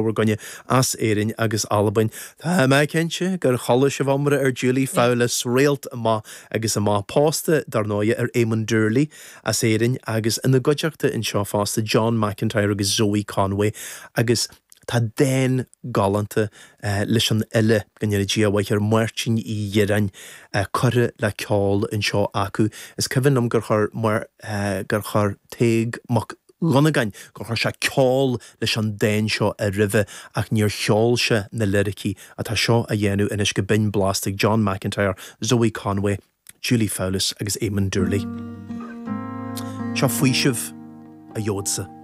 Bhur gcoinne as Éirinn agus Albain. Tá mé cinnte gur chuala sibh iomrá ar Julie Fowlis, réalt amach agus amach, pósta, dar ndóigh, ar Éamon Doorley as Éirinn agus ina gcuideachta anseo fosta John McIntyre agus Zoe Conway agus tá dán galánta leis an fhile, go ndéana Dia a mhaith air, Máirtín Uí Dhireáin, curtha le ceol anseo acu. Is cuimhin liom gur chuir, gur chuir Tadhg Mac Dhonnagáin, gur chuir sé ceol leis an dán seo roimhe ach níor cheol sé na liricí atá seo á dhéanamh anois go binn blasta ag John McIntyre, Zoe Conway, Julie Fowlis agus Éamon Doorley. Seo faoiseamh a gheobhadsa.